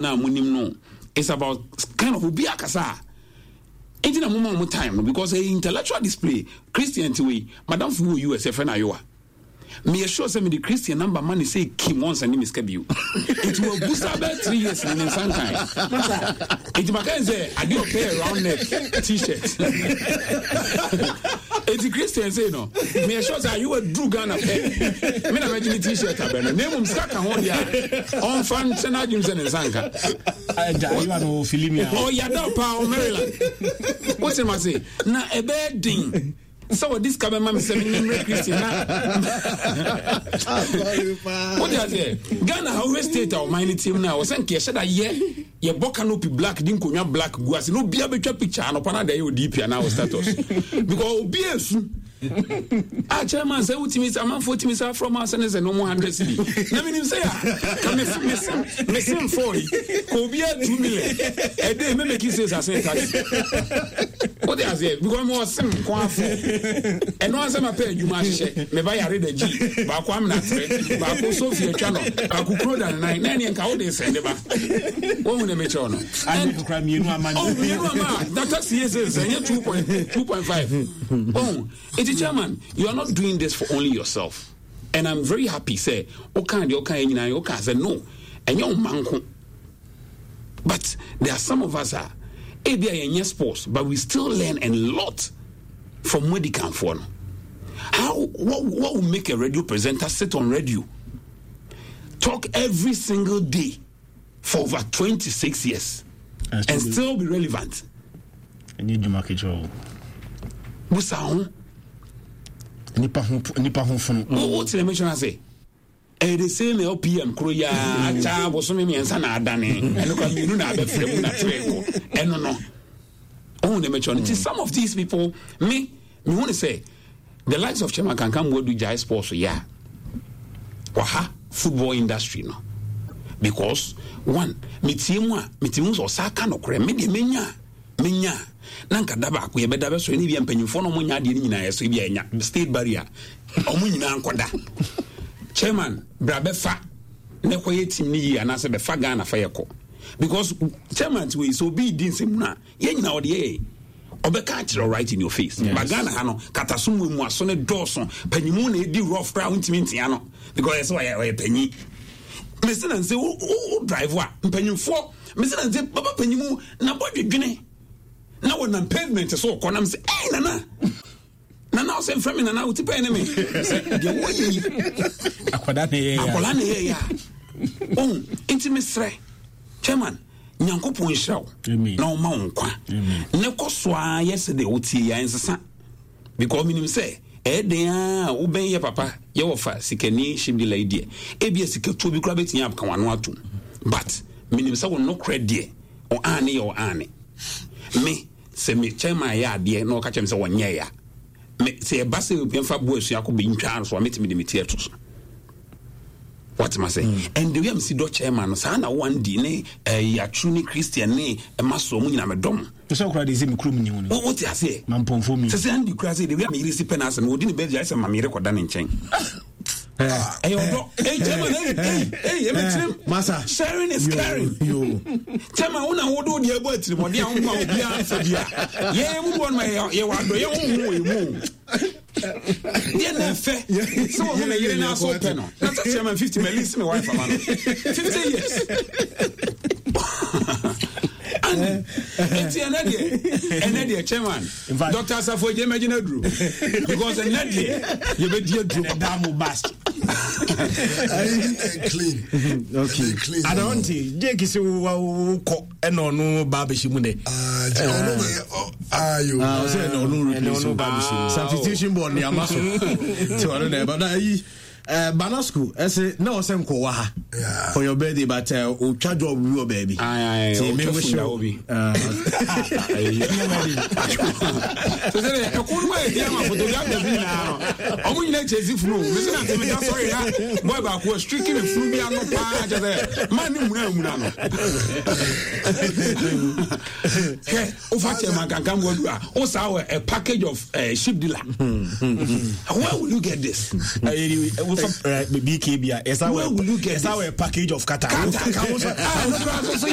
no a monim no it's about kind of obi akasa a nti na moma ɔmo time no because ɛyɛ intellectual display. Christian ti wei madam fo wɔ US ɛfɛ no ayowa meyɛ sure sɛ mede Christian number ma ne sɛ kim wɔnsa ne me sika bio nti wabusa bɛɛ 3 years ne ne nsa nkan nti maka ne sɛ adeɛ ɔpɛ yɛ round neck T-shirt. Nti Christian sei no meyɛ sure sɛ ayewa duru Ghana pɛ me na mɛgye ne T-shirt abɛ no na mmom sika ka ho deɛ a ɔmfa nkyɛ no adwene sɛ ne nsa nka. Ɔyada paa wɔ Maryland wote ma se na ɛbɛyɛ den sɛ wɔde sika bɛma me sɛ menyɛ mmerɛ Kristi na wode aseɛ Ghana ha wohwɛ state a ɔman no tiam no a wɔ sɛ nka yɛhyɛ da yɛ yɛbɔ canopy black de nkonnwa black gu ase na obia bɛtwa picture anɔpa no ada yɛ odp anaa wɔ status because obia esu a chairman sɛ wotumi sɛ amanfoɔ tumi sɛ afrɛ ma asɛ ne sɛ no mu 100 cedi na menim sɛ a ka mesem fɔ yi ka obia 2 million ɛde memeki sales asɛn taxi wode aseɛ because mewɔ sem nko afɔ ɛno ansɛ mapɛ adwuma ahyehyɛ meba yare da gyi baako amena terɛ baako sofi atwa no baako kuro da ne nan na ɛneɛ nka wode sɛnde ba wohu ne mekyerɛw no. Mmienu ama oh, mmienu ama na taxi yɛ sɛ sɛ ɛnyɛ 2.2.5. Oh, eti chairman, you are not doing this for only yourself and I'm very happy sɛ woka deɛ woka yɛ nyinaa woka sɛ no ɛnyɛ wo ma nko, but there are some of us a ebi a yɛnyɛ sports but we still learn a lot from Modikanfoɔ no. How what will make a radio presenter sit on radio talk every single day for over 26 years and still be relevant? Ɛnyɛ dwuma ketewa o. Busa ho. Nipa ho nipa ho funu. Wo tẹnɛ mi sɔn ase ɛyɛ the same LPM koro yaa akya bosome 3 na adane ɛno kora mmienu na abɛfrɛ mu na tere kɔ ɛno no ohun ne mɛkyerɛ no. Nti some of these people me mehu ne sɛ the likes of Chairman Kankan Muadu gyae sports yɛ a waha football industry no because one metie mu a metumi hu sɛ ɔsa ka nokorɛ. Me deɛ menya a menya a na nka da baako yɛbɛda bɛsɔre ne bia mpanyimfoɔ no ɔmo nya adeɛ no nyinaa yɛsɔ bi a ɛnya state barrier ɔmo nyinaa nkɔda chairman bra bɛfa ne kɔyɛ team no yie anaasɛ bɛfa Ghana fa yɛkɔ because chairman ti wei sɛ obi di nsɛm no a yɛn nyinaa ɔde yɛyɛ ɔbɛka akyerɛ right in your face. Yes. But Ghana ha no kataso mu emu aso ne dɔɔso panyimu na edi rough koraa wontumi ntia no because ɛsɛ ɔyɛ ɔyɛ panyin mesi na nse wo wo drive a mpanyinfoɔ mesi na nse baba panyimu na bɔ dwedwene na wɔnam pavement so kɔ nam sɛ ɛy nana nana ɔsɛ nfrɛ mi nana oti pɛn ne mi sɛ deɛ wɔyɛ yi akwadaa na ɛyɛ ya akwadaa na ɛyɛ ya ohun nti mesrɛ chairman Nyankopɔn nhyira wo na ɔma wo nkwa ne kɔ so ara yɛ sɛ deɛ wotie yɛ nsesa because menim sɛ ɛyɛ den a wobɛn yɛ papa yɛ wɔfa sikani hyɛmdila yi deɛ ebia sikatuo bi koraa bɛtumi aka wano atom but menim sɛ wo nokorɛ deɛ ɔane yɛ ɔane me sɛ me chairman yɛ adeɛ na ɔka kyerɛ me sɛ wɔnyɛ ya me sɛ ɛba sɛ yɛmfa bo asua kɔ bɛntwaa so a mɛtumi de me ti ato so watema sɛ and the way a mesi dɔ chairman no saa na wandi ne eh, yɛaturu ne Christian ne ɛma soɔ mu nyina medɔ mo. Sɛ wokora de sɛ me kurom ni wo no wote aseɛ mampɔmfo mi sɛ sɛ Andy kura sɛ the way a meyere si pɛ no asɛm wɔdi ne baabi ayɛ sɛ ma meyere kɔda ne nkyɛn ɛyɛ ɔdɔ. Hey chairman, hey hey hey, ɛmɛ tirim. Masa. Sharing is caring. Chairman, wo na wo do deɛ ɛbɔ atirimɔden a wo ma obiara nfa bi a yɛn mu bɔ no ma yɛ wɔ adɔ yɛn ho ho wɔ yɛn mu deɛ na ɛfɛ sɛ wɔn ho na yere na aso pɛ no na sɛ chairman 50 mɛ lisi mi wife ama no 50 years and eti ɛnɛ deɛ chairman Dr. Asafo Egye mɛgyina duro because ɛnɛ deɛ yɛbɛdi aduro papa. Ɛda mo bast. Clean. Okay. Clean. Adonte, Jake sɛ wo kɔ ɛna ɔno ba abɛhyɛ mu dɛ. Ɔno bɛ ayo. Ɔsɛ ɛna ɔno replace ɔno ba abɛhyɛ mu. Substitution board ni ama so. Ti ɔno na ɛba na ayi. Banasco ɛsɛ na ɔsɛ nkɔwa ha for your birthday but otwa job bi wɔ baabi. Ti mi wish you. Sɛ sɛ ɛkò no ma yɛ di ama photographer bi nyinaa no ɔmo nyinaa kyɛ si funu mesi na ntɛmɛ da sɔre na boy baako a streaking ne funu bi ano paa kyɛ sɛ maa ne muna muna no hwɛ wofa kyɛ ma kankan mu adu a wo saa wɔ a package of ship dealer. Where will you get this? Wofa BKB a, ɛsa wɔ package of kata. Kata.